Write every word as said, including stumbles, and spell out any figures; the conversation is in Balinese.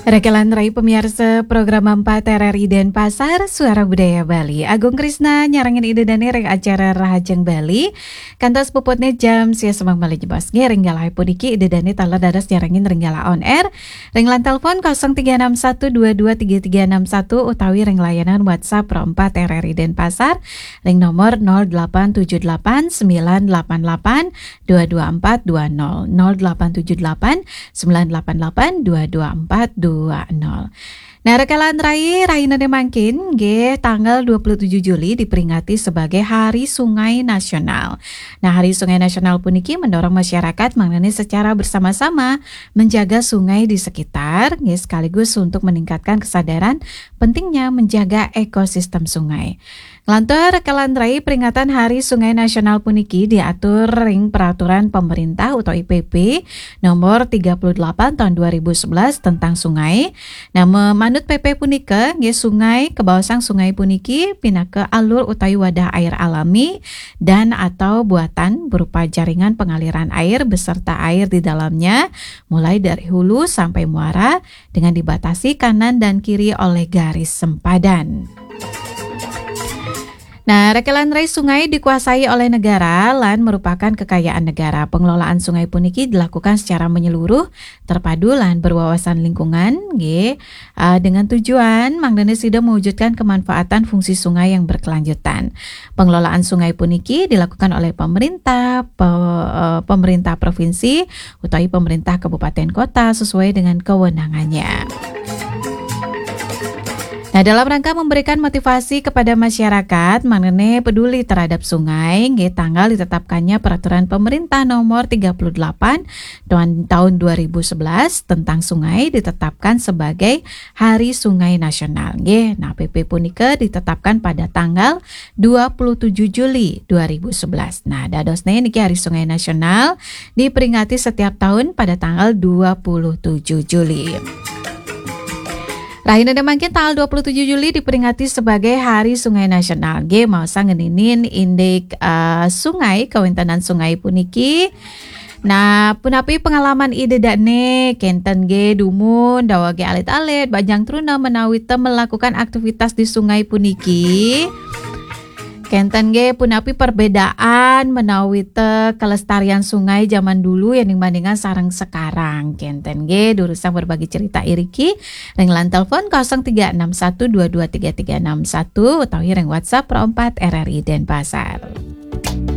Rekelan rai pemiarsa program empat R R I Denpasar, Suara Budaya Bali. Agung Krisna nyarengin Ida Dane ring acara Rahajeng Bali. Kantos puputne jam sia semeng malih jebos. Nggih, ring galah puniki Ida Dane taler dados nyarengin ring galah on air. Ring line telepon kosong tiga enam satu dua dua tiga tiga enam satu utawi ring layanan WhatsApp Pro empat R R I Denpasar ring nomor nol delapan tujuh delapan sembilan delapan delapan dua dua empat dua nol, nol delapan tujuh delapan sembilan delapan delapan dua dua empat dua nol. Nah, rekelan rai, rainane mangkin, nggih, tanggal dua puluh tujuh Juli diperingati sebagai Hari Sungai Nasional. Nah, Hari Sungai Nasional puniki mendorong masyarakat mangdane secara bersama-sama menjaga sungai di sekitar, nggih, sekaligus untuk meningkatkan kesadaran pentingnya menjaga ekosistem sungai. Nglantur rekelan rai, peringatan Hari Sungai Nasional puniki diatur ring peraturan pemerintah utawi P P nomor tiga puluh delapan tahun dua ribu sebelas tentang sungai. Nah, manut P P punika, nggih, sungai, kabaosang sungai puniki pinaka alur utawi wadah air alami dan atau buatan berupa jaringan pengaliran air beserta air di dalamnya, mulai dari hulu sampai muara, dengan dibatasi kanan dan kiri oleh garis sempadan. Nah, rekelan rai, sungai dikuasai oleh negara lan merupakan kekayaan negara. Pengelolaan sungai puniki dilakukan secara menyeluruh, terpadu lan berwawasan lingkungan, nggih, ah, dengan tujuan mangdane sida mewujudkan kemanfaatan fungsi sungai yang berkelanjutan. Pengelolaan sungai puniki dilakukan oleh pemerintah, pe-, eh, pemerintah provinsi, utawi pemerintah kabupaten kota sesuai dengan kewenangannya. Nah, dalam rangka memberikan motivasi kepada masyarakat mengenai peduli terhadap sungai, nggih, tanggal ditetapkannya peraturan pemerintah nomor tiga puluh delapan tahun, tahun dua ribu sebelas tentang sungai ditetapkan sebagai Hari Sungai Nasional, nggih. Nah, P P punika ditetapkan pada tanggal dua puluh tujuh Juli dua ribu sebelas. Nah, dadosne niki Hari Sungai Nasional diperingati setiap tahun pada tanggal dua puluh tujuh Juli. Rahinane mangkin tanggal dua puluh tujuh Juli diperingati sebagai Hari Sungai Nasional. Nggih, maosang ngeninin indik, eh, sungai, kawéntenan sungai puniki. Nah, punapi pengalaman Ida dane, kenten nggih dumun, dawege alit-alit, bajang truna menawi te melakukan aktivitas di sungai puniki. Kenten nggih punapi perbedaan menawi te kelestarian sungai zaman dulu ya ning bandingan sareng sekarang. Kenten nggih durusang berbagi cerita iriki ring line telepon kosong tiga enam satu dua dua tiga tiga enam satu utawi ring WhatsApp Pro empat R R I Denpasar.